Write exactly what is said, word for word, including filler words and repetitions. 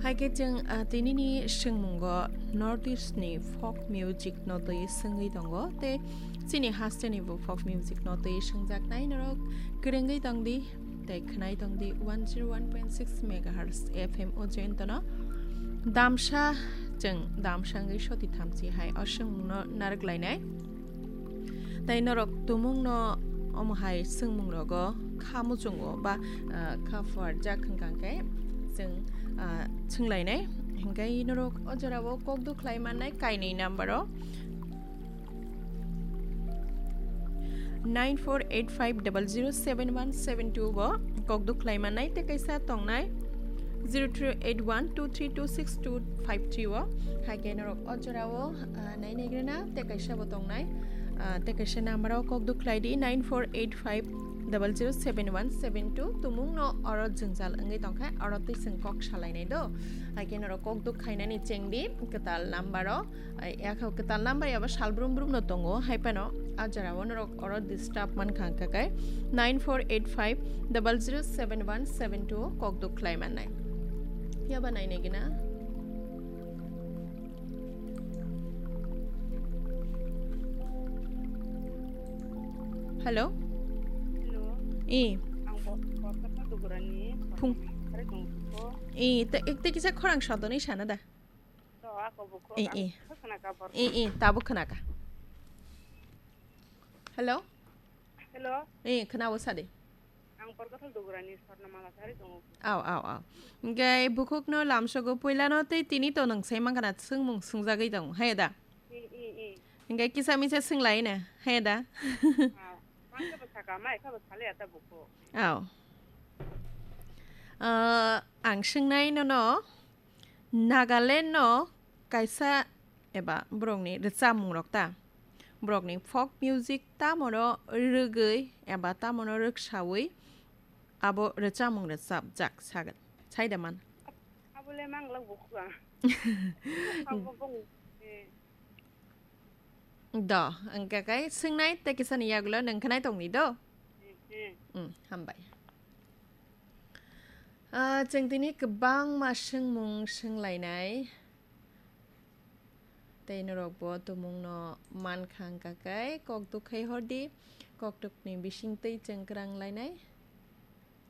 Hai khe chwng, ah, tinini swngmungo North East ni folk music no twi swngwi tongo, tei chini haste ni bo folk music no twi swngjaknai norok kwrwngwi tongdi tei khwnai tongdi one zero one point six megahertz F M o jointono. Damsa chwng damsa wngwi soti thamchi hai o swngmungno narwk lainai. Tei norok tumungno omo hai swngmungrogo kha muchungo ba, ah, kha phuarjak hwnkha khe chwng, ah, swnglainai. Hinkhe norok o jorao kok duk khlai mannai kainwi number o nine four eight five double zero seven one seven two o kok duk khlai mannai tei kaisa tongnai zero three eight one two three two six two five three o. Hai khe norok o jorao, ah, nainaigrena tei kaisa bo tongnai, ah, tei kaisa number o kok duk khlai di nine four eight five double zero seven one seven two. Tumung no oro jwngjal wngwi tongkha, oro twi chwng kok salainai do. Hai khe norok kok duk khainani chengdi kwtal number o, ai, yakha kwtal number yaba sal brum brum no tongo, hai phano a jora o norok oro disturb mankha hwnkha khe nine four eight five double zero seven one seven two o kok duk khlai mannai. Yaba nainai gina. Hello? Hello. I. Ang bo-, Borkasa Dugurani. Phung. Sari tongkho. I, te, te kisa khorang sadoni sana da. To, ako buko. I, ang i. Khakna ka bor. I, i, tabuk khwnaka. Hello? Hello? I, khwnao sadi. Ang Borkathal Dugurani Swarnamala sari tongo. Aw, aw, aw. Hingke bukhukno lamsogo puilano tei tini to nwng sai mankha na swngmung swngjagwi tongo, hai da? I, i, i. Hingke kisa misa swnglaina, hai da? Aw. Mang khe bo saka, mai khe bo sale ata bukhuk. Aw. Ah, ang swngnai nono, Nagaland no kaisa eba borokni rwchapmung rok ta, borokni folk music tamono rwgwi eba tamono rwksawi abo rwchapmung rwchapjak sagwn, sai da man? Abole manglak bukhuk ang. Abo bong, eh. Do, hingke kai swngnai tei kisani yagulo nwng khwnai tongdi do? Hmm. Mm, hambai. Ah, chwng tini kwbangma swngmung swnglainai. Tei norokbo tumungno mankha hwnkha khe kokduk khai hordi, kokdukni bisingtwi chwng kwrang lainai.